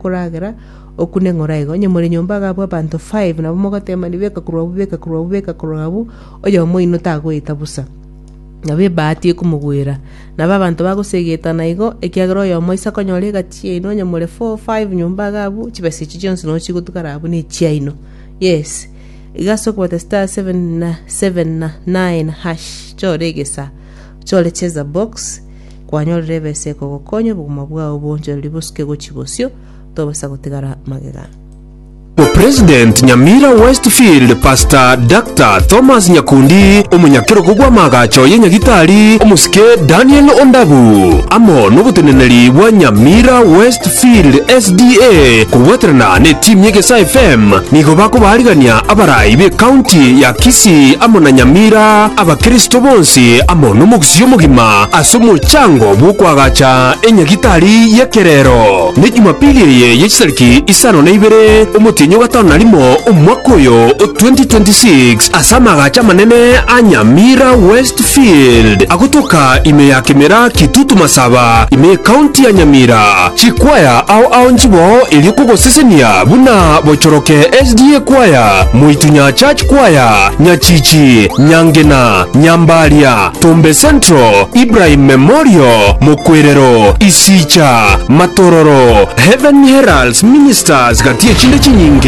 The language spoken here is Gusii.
Koragera okune ng'ora igo. Onye more nyomba iga abwo abanto five nabo mogotemani beka korwa abwo beka korwa abwo beka korwa abwo, oyomo oino tagoeta bosa. Nabo ebahati ekomogwera. Nabo abanto bagosegetana igo, ekiagera oyomo aise akonyora egati yaino onye more four, five nyomba iga abwo, chibesa echio chionsi nabo chigotigara abwo na echiaino. Yes, iga ase okobata star 779 hash, chora egesa, ochore cheza box. Kwanyorire ebesa ekogokonya obogima bwao boonchorerie bosuke gochia bosio, tobasa gotigara magega. Omopresident Nyamira Westfield Pastor Doctor Thomas Nyakundi, omonyakerogo bw'amaagacho ye Nyagitari omosike Daniel Ondabu, amo noboteneneri bwa Nyamira Westfield SDA kobwaterana n'etimu y'Egesaa FM nigo bakobaarigania abarai b'ecounty ya Kisii amo na Nyamira, Abakristo bonsi amo nomogusii omogima ase omochango bw'okoagacha enyagitari y'ekerero. Ne Jumapili eye ye chitariki isano na ibere omotienyi o gatano na rimo omwaka oyo o 2026 ase amaagacho amanene a Nyamira Westfield agotoka ime ya Kemera Kitutu Masaba ime y'Ecounty ya Nyamira. Chikwaya ao ao nchiboo erio kogosesenia buna Bochoroke SDA Choir, Moitunya Church Choir, Nyachichi, Nyangena, Nyambaria, Tombe Central, Ibrahim Memorial, Mokwerero, Isicha, Matororo, Heaven Heralds Ministers gati echinde chinyinge.